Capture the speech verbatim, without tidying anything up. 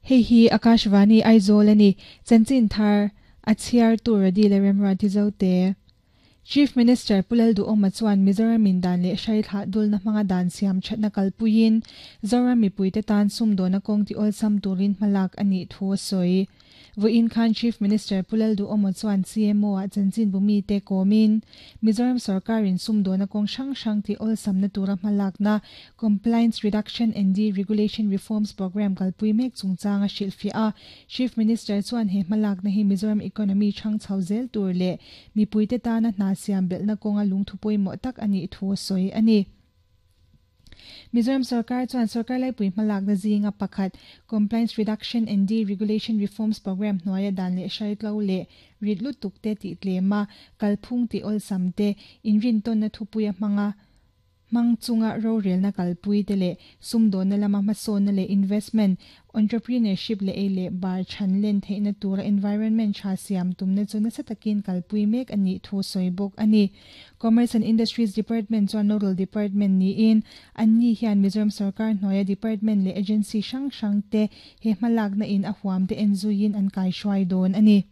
Hei hi Akashvani Aizawl ani chanchin thar a chhiar tur a dil remra ti zo te. Chief Minister Pulal du oma chuan Mizoram in dan leh hrai thla dul na hmanga dan siam thatna kalpuiin Zoram mipuite tan sum dona kawng ti awlsam turin hmalak ani thu a sawi. Voin khan Chief Minister Pulal du omo chuan C M O a chanchin bumi te komin Mizoram sarkar in sum dona kawng hrang hrang ti awlsam na tura hmalak na Compliance Reduction and Deregulation Reforms Program kalpui mek chungchanga hrilhfiah a. Chief Minister chuan he hmalak na hi Mizoram economy thang chho zel tur leh mipuite tana hna siam belna kawnga lungthu pawimawh tak ani thu a sawi ani. Mizoram sarkar chuan sarkar laipui hmalak na zinga pakhat Compliance Reduction and Deregulation Reforms Program hnuaia dan leh hrai tlo leh rit lutuk te tih tlema kalphung ti awlsam te inrin tawn na thupuia hmanga mang chunga rorel na kalpui te leh sumdawn na lama hmasawn na leh investment entrepreneurship leh ei leh bar than len theihna tura environment tha siam tum na chu nasa takin kalpui mek ani thu sawi bawk ani. Commerce and Industries Department chuan nodal department niin anni hian Mizoram sarkar hnuaia department leh agency hrang hrang te he hmalak na in a huam te en zuiin an kai hruai dawn ani.